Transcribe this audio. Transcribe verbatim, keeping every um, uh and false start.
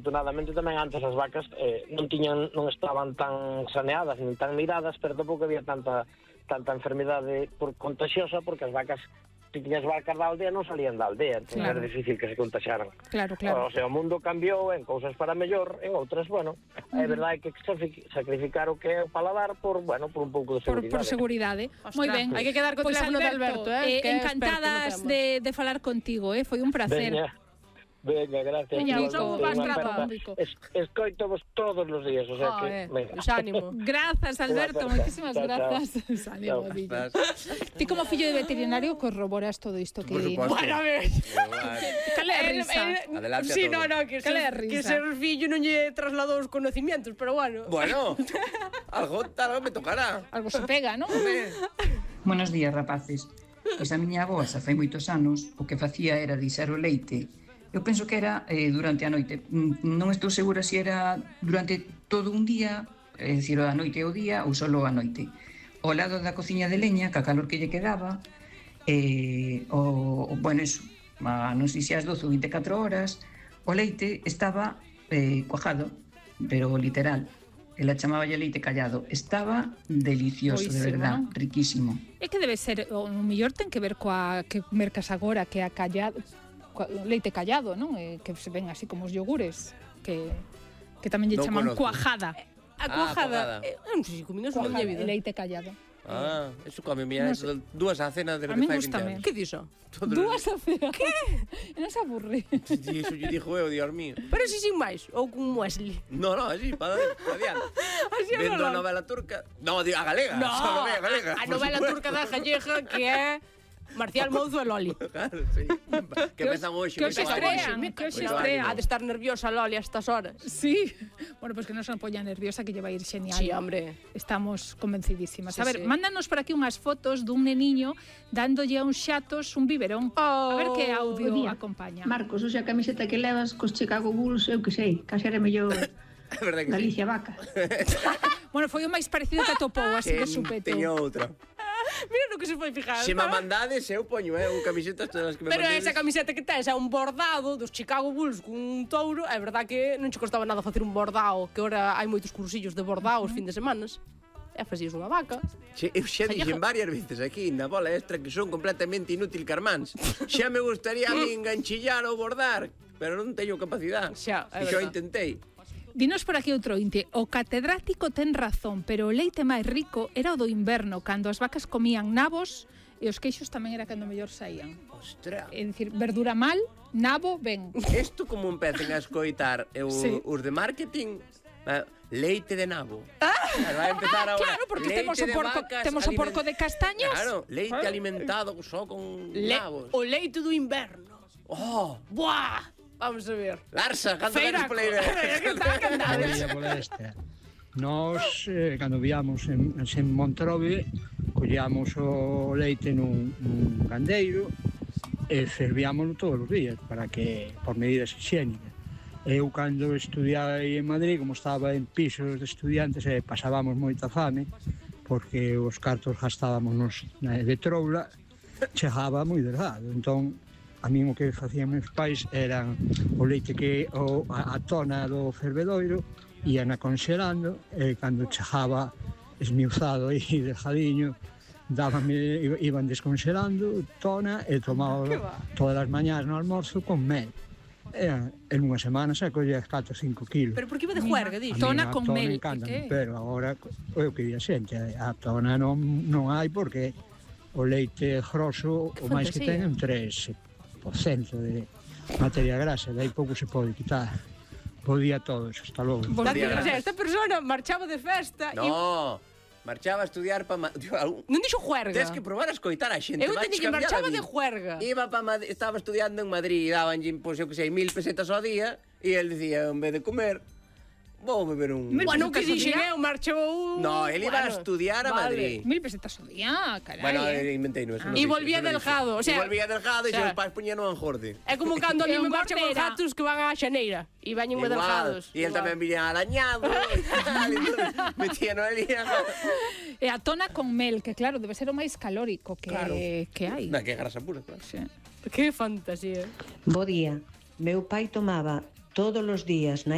Afortunadamente tamén antes as vacas eh, non tiñan, non estaban tan saneadas nin tan miradas, pero tampouco había tanta tanta enfermidade por contagiosa, porque as vacas, se tiñas vacas da aldea, non salían da aldea, entón Claro. era difícil que se contaxaran. Claro, claro. O sea, o mundo cambiou en cousas para mellor, en outras, bueno, é verdade que sacrifi- sacrificar o que é o paladar por, bueno, por un pouco de Por, seguridade. por seguridade. Ostras, Moi ben. hai que quedar co Pois, teléfono de Alberto, eh, eh, que é encantadas experto no tema. de, de falar contigo, eh, foi un placer. Venga, venga, gracias. Veña, Igualmente, Vico, vas unha trapa. aperta. Vico. Es, escoitovos todos os días, o sea Ah, que, eh, venga. pues ánimo. Grazas, Alberto, Unha aperta. moitísimas Chao, chao. grazas. Ánimo, Chao. Dillo. Ti como fillo de veterinario corroboras todo isto que Por di. suposto. Bueno, a ver. Igual. Cale a risa. Adelante a Sí, todo. no, no, que Cale a ser, risa. que ser fillo non lle trasladou os conocimientos, pero bueno. Bueno, algo, algo me tocará. Algo se pega, non? Hombre. Buenos días, rapaces. Pois a miña avoa xa fai moitos anos o que facía era dixer o leite. Eu penso que era eh, durante a noite. Mm, Non estou segura se era durante todo un día, é dicir, a noite e o día ou solo a noite. Ao lado da cociña de leña, ca calor que lle quedaba, eh, o, o, bueno, eso, a, non sei se as doce ou vinte e catro horas, o leite estaba eh, cuajado, pero literal. Ela chamáballe leite callado. Estaba delicioso, de Boísimo, verdad, non? riquísimo. É que debe ser, o mellor ten que ver coa que mercas agora, que a callado, coa, leite callado, non? Eh, que se ven así como os yogures, que que tamén lle Non chaman conozco. cuajada. A Ah, cuajada. cuajada. Eh, non sei se comín eso na Cuajada, miña vida. leite callado. Ah, eso come mi No no sé. dúas a cena de A min fai gústame. vinte anos. Que dixo? Todo Dúas a cena. Que? Non se aburre. E iso lle dixo eu, Dios mío. Pero si sin máis, ou con Wesley. No, no, así, para adiante. Así a Vendo a lo- novela turca. No, digo, a galega. No, Solo ve a galega. a por novela supuesto. turca da Galleja que é Marcial Mouzo e Loli. Claro, sí. Que empezan hoxe. que hoxe moi estrean, mal. que hoxe Moito estrean. Ha de estar nerviosa Loli a estas horas. Sí. Bueno, pues que non se poña nerviosa, que lle vai ir xenial. Sí, hombre. Estamos convencidísimas. Sí, a ver, sí. mándanos por aquí unhas fotos dun neniño dándolle a uns xatos un biberón. Oh. A ver que audio Bo día. acompaña. Marcos, hoxe a camiseta que levas cos Chicago Bulls, eu que sei, case era mellor É verdade que sí. Galicia Vaca. Bueno, foi o máis parecido que atopou, así de Que supetón. teño outra. Mira no que se foi fijar. Se me mandades, eu poño, eh, un camisetas todas as que me Pero mandades. esa camiseta que tes é un bordado dos Chicago Bulls con un touro. É verdad que non che costaba nada facer un bordado, que ahora hai moitos cursillos de bordado os fin de semanas. E facías unha vaca. Xe, eu xa Calleja. dixen varias veces aquí na bola extra que son completamente inútil carmáns. Xa me gustaría a mí enganchillar ou bordar, pero non teño capacidade. Xa, é E xo verdad. intentei. Dinos por aquí outro inte. O catedrático ten razón, pero o leite máis rico era o do inverno, cando as vacas comían nabos e os queixos tamén era cando mellor saían. Ostras. É dicir, verdura mal, nabo ben. Isto como empecen a escoitar eu, Sí. os de marketing, eh, leite de nabo. Claro, vai empezar ahora. Claro, porque leite temos o de porco, vacas temos o porco de aliment- castaños. Claro, leite Claro. alimentado só con Le nabos. o leite do inverno. Oh, Buah! Vamos a ver. Larsa, canta Feiraco. ganas pola idea. Que está cantado. María Molesta. Nós, eh, cando viamos en, en Monterove, collíamos o leite nun, nun gandeiro e fervíamoslo todos os días para que, por medidas higiénicas. Eu, cando estudiaba aí en Madrid, como estaba en pisos de estudiantes, eh, pasábamos moita fame, porque os cartos gastábamos nos, na de troula, chegaba moi delgado. Entón, a min o que facían meus pais eran o leite que o, a, a tona do fervedoiro ian a conxelando e cando chegaba esmiuzado e delgadiño dábame, iban desconxelando tona e tomaba todas as mañás no almorzo con mel e, en unha semana se collía catro ou cinco kilos. Pero por que iba de juerga, A dixo? min Tona a con tona mel, encántame, que? pero agora é o que di a xente, a tona non, non hai porque o leite grosso o máis que fantasía. ten é un tres por ciento de materia grasa, de aí pouco se pode quitar. Bo día a todos, hasta logo. Bos Date, días. o sea, esta persona marchaba de festa e No, marchaba a estudiar para... non dixo juerga. Tens que probar a escoitar a xente. Eu vais teño que cambiar marchaba a de vida. juerga. Iba pa Madrid, estaba estudiando en Madrid e daban, pois, eu que sei, mil pesetas ao día e el dicía, en vez de comer, vou beber un... Mil Bueno, que pesetas ao dixen día? eu, marchou... No, el iba a Bueno, estudiar a vale. Madrid. Mil pesetas ao día, carai. Bueno, eh. inventei, no, eso Ah. non E dixo, volvía eso non dixo. delgado, o sea, E volvía delgado e o sea, seus pais poñían un jorde. É como cando a E mí un me marcha con gortera. gatos que van á xaneira e bañen moi delgados. E el tamén viña arañado. Metían ali. E a tona con mel, que claro, debe ser o máis calórico que, Claro. que hai. Na que grasa pura, claro. Sí. Que fantasía. Bo día. Meu pai tomaba todos os días na